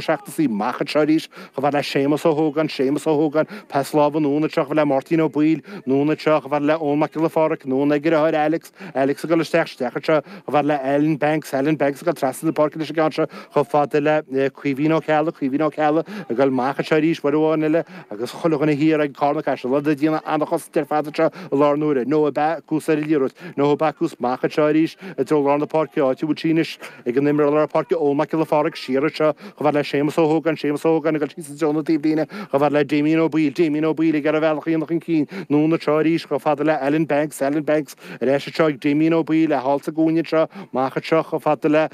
Seachtas í amach anseo arís chomh fada le Séamus Ó hÓgáin, Séamus Ó hÓgáin, pas láimhe anonn anseo chomh fada le Máirtín Ó Baoill, anonn anseo chomh fada le Eoin Mac Giolla Phádraig, anonn ag a dheartháir Alex, Alex ag dul isteach, isteach anseo chomh fada le Alan Banks, Alan Banks ag dul trasna na páirce leis an gceann seo chomh fada le Caoimhín Ó Ceallaigh, Caoimhín Ó Ceallaigh ag dul amach anseo arís uair amháin eile agus chuile dhuine thiar ag Carna Caiseal, iad ag déanamh an-chosaint ar fad anseo i láthair na huaire. Noah Backus ar an liathróid, Noah Backus amach anseo arís i dtreo lár na páirce, áit a bhfuil sí anois. Ag an imreoir lár páirce Eoin Mac Giolla Phádraig siar anseo chomh fada le Séamus Ó hÓgáin, Séamus Ó hÓgáin ag dul síos i dtreo na taobhlíne chomh fada le Damien Ó Baoill, Damien Ó Baoill ag iarraidh a bhealach a dhéanamh chun cinn, anonn anseo arís chomh fada le Alan Banks, Alan Banks ar ais anseo ag Damien Ó Baoill é thall sa gcúinne anseo, amach anseo chomh fada le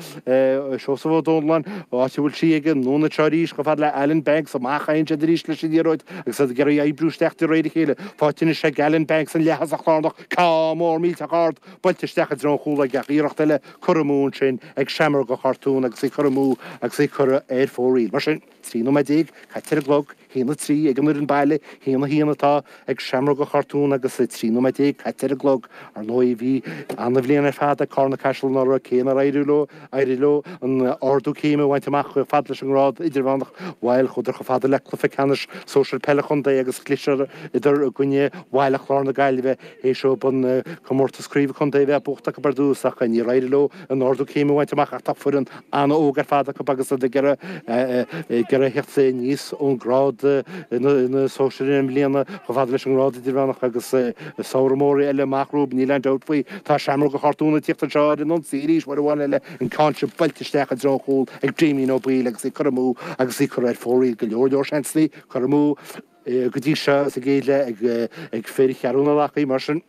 Seosamh Ó Domhnalláin, áit a bhfuil sí aige, anonn anseo arís chomh fada le Alan Banks, amach a théann siad arís leis an liathróid agus iad ag iarraidh oibriú isteach de réir a chéile. Faighte anois ag Alan Banks an leath-thosach lárnach, ceann mór millteach ard buailte isteach i dtreo an chúil aige ach iarracht eile curtha amú ansin ag Seamróga Chartún agus í curtha amú agus í curtha ar fóraoil. Mar sin, 13 nóiméad caite ar an gclog, 1-3 ag an fhoireann baile, 1-1 atá ag Seamróga Chartún agus 13 nóiméad caite ar an gclog. Ar ndóigh, bhí an-bhliain ar fad ag Carna Caiseal anuraidh, cé nár éirigh leo, éirigh leo an ardú céime a bhaint amach chomh fada leis an ngrád idirmheánach, bhuel, chuadar chomh fada le cluiche ceannais sóisir peile chontae agus chliseadar i gcoinne Bhaile Chláir na Gaillimhe. Théis dóibh an comórtas craoibhe contae a bheith buachta acu ar dtús ach níor éirigh leo an ardú céime a bhaint amach ach tá foireann an-óg ar fad acu agus iad ag iarraidh theacht aníos ón ngrád na sóisir i mbliana chomh fada leis an ngrád idirmheánach agus samhradh mór eile amach rompu, níl aon dabht faoi. Tá Seamróga Chartún ag tíocht anseo ar an ionsaí arís uair amháin eile, an ceann seo buailte isteach i dtreo an chúil ag Damien Ó Baoill agus í curtha amú agus í curtha ar fóraoil go leor leor seansanna curtha amú. Go dtí seo sa gcéad leath ag fir Cheathrú na Leacaí, mar sin,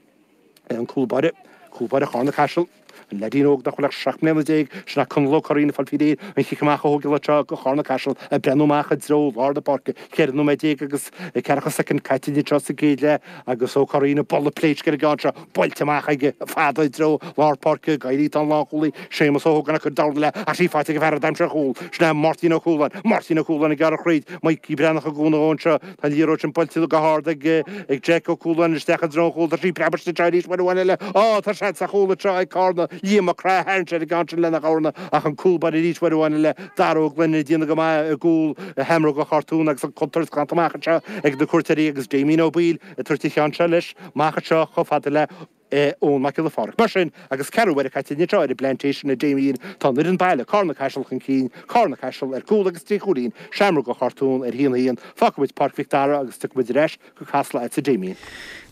an cúl báire, cúl báire Charna Caiseal, an leaidín óg nach bhfuil ach 17 mbliana, sin é Conall Ó Curraoin ag fáil faoi réir an chic amach a thógáil anseo do Charna Caiseal, ag breathnú amach i dtreo lár na páirce. 14 nóiméad agus ceathracha soicind caite anseo sa gcéad leath agus Ó Curraoin ag bualadh pléisc ar an gceann seo, buailte amach aige fada i dtreo lár páirce, ag éirí tá an lánchúlaí Séamus Ó hÓgáin ag cur dorn eile ach í faighte ag an bhfear a d'aimsigh an chúl, sin é Máirtín Ó Cualáin, Máirtín Ó Cualáin ag gearradh thríd, Mikey Breathnach ag cúnamh dó anseo, tá an liathróid sin buailte go hard ag Jack Ó Cualáin isteach i dtreo an chúil, tá sí preabtha anseo arís uair amháin eile, á tá seans ar chúl anseo ag Carna, Liam Mac Craith a tharraing sé ar an gceann sin lena dhorna ach an cúl báire arís uair amháin eile, Dara Ó Gloinn ag déanamh go maith i gcúl Sheamróga Chartún agus an chontúirt glanta amach anseo ag na cuairteoirí agus Damien Ó Baoill ag tabhairt an cheann seo leis amach anseo chomh fada le Eoin Mac Giolla Phádraig. Mar sin, agus ceathrú uaire caite anseo ar an bPlantation a Damien, tá an fhoireann baile, Carna Caiseal chun cinn, Carna Caiseal ar cúl agus 3 chúilín, Seamróga Chartún ar 1-1. Fágfaidh muid Páirc Mhic Dara agus tiocfaidh muid ar ais go Casla agatsa Damien.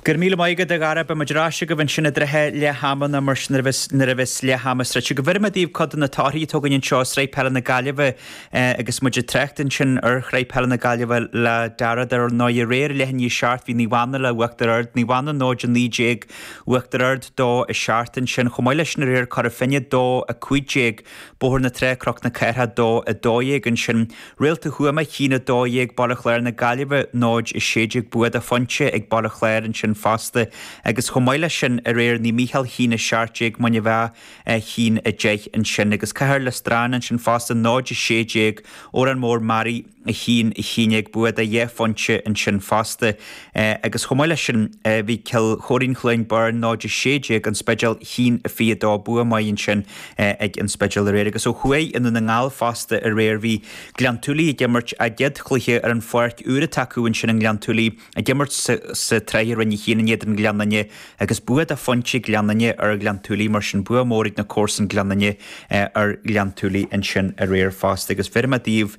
Go raibh míle maith agat a Dhara, beidh muid ar ais agaibh ansin i dtrátha leath ama nó mar sin nuair a bheas leath ama sroichte agaibh. Bhéarfaidh mé daoibh cuid de na torthaí atá againn anseo i Sraith Peile na Gaillimhe agus muid ag trácht ansin ar Shraith Peile na Gaillimhe le Dara dar ndóigh aréir leath i ndiaidh 7 bhí Naomh Anna le Uachtar Ard, Naomh Anna 0 19, Uachtar Ard 2 7 ansin. Chomh maith leis sin aréir Cora Finne 2 15, Bóthar na Trá Cnoc na Cathrach 2 12 ansin. Réalta Thuama 1 12, Baile Chláir na Gaillimhe 0 16 bua de phointe ag Baile Chláir ansin fosta agus chomh maith leis sin aréir Naomh Mícheál 1 17, Muine Mheá 1 10 ansin agus Cathair Lios Dráin ansin fosta 0 16, Órán Mór Mearaí 1 11 bua de dheich phointe ansin fosta agus chomh maith leis sin bhí Cill Chóirín Chluain Bheirn 0 16, An Spidéal 1 22 bua maith ansin ag An Spidéal aréir agus ó thuaidh i nDún na nGall fosta aréir bhí Gleann tSúilí ag imirt a gcéad chluiche ar an pháirc úr atá acu ansin i nGleann tSúilí ag imirt sa tsraith i Roinn 1 in éadan Ghleann Fhinne agus bua de phointe ag Gleann Fhinne ar Ghleann tSúilí mar sin bua mór ag na comharsain Gleann Fhinne ar Ghleann tSúilí ansin aréir fosta agus bhéarfaidh mé daoibh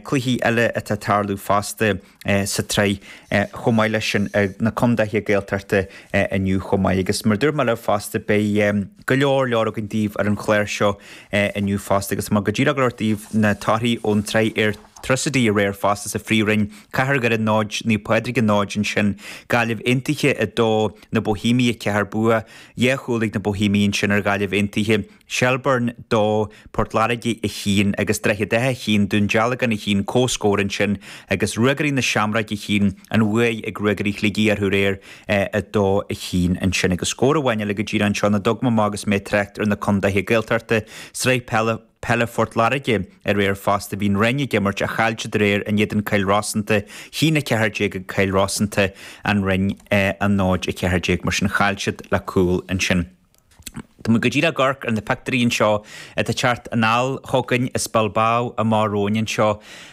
cluichí eile atá ag tarlú fosta sa tsraith chomh maith leis sin na condaetha Gaeltachta inniu chomh maith agus mar dúirt mé libh fosta beidh go leor leor againn daoibh ar an chlár seo inniu fosta agus má go díreach go leor daoibh na torthaí ón tsraith Airtricity aréir fosta sa Phríomhroinn, Cathair Dhoire 0, Naomh Pádraig 0 ansin, Gaillimh Aontaithe 2, Na Boihéimigh 4 bua dhá chúl ag na Boihéimigh ansin ar Ghaillimh Aontaithe, Shelbourne 2, Port Láirge 1 agus Droichead Átha 1, Dún Dealgan 1, comhscór ansin agus Ruagairí na Seamróige 1, an bhuaidh ag Ruagairí Shligigh orthu aréir 2, 1 ansin agus scór amháin eile go díreach anseo ina dtug mé amach agus mé ag trácht ar na condaetha Gaeltachta, Sraith Peile. Peile Phort Láirge aréir fosta. Bhí an Rinn ag imirt ach chaill siad aréir in éadan Cill Rosanta, 1 14 ag Cill Rosanta, an Rinn 0 14 mar sin chaill siad le cúl ansin. Tá muid go díreach ag amharc ar na pictiúirí anseo atá ag teacht anall chugainn as Bilbao amach romhainn anseo.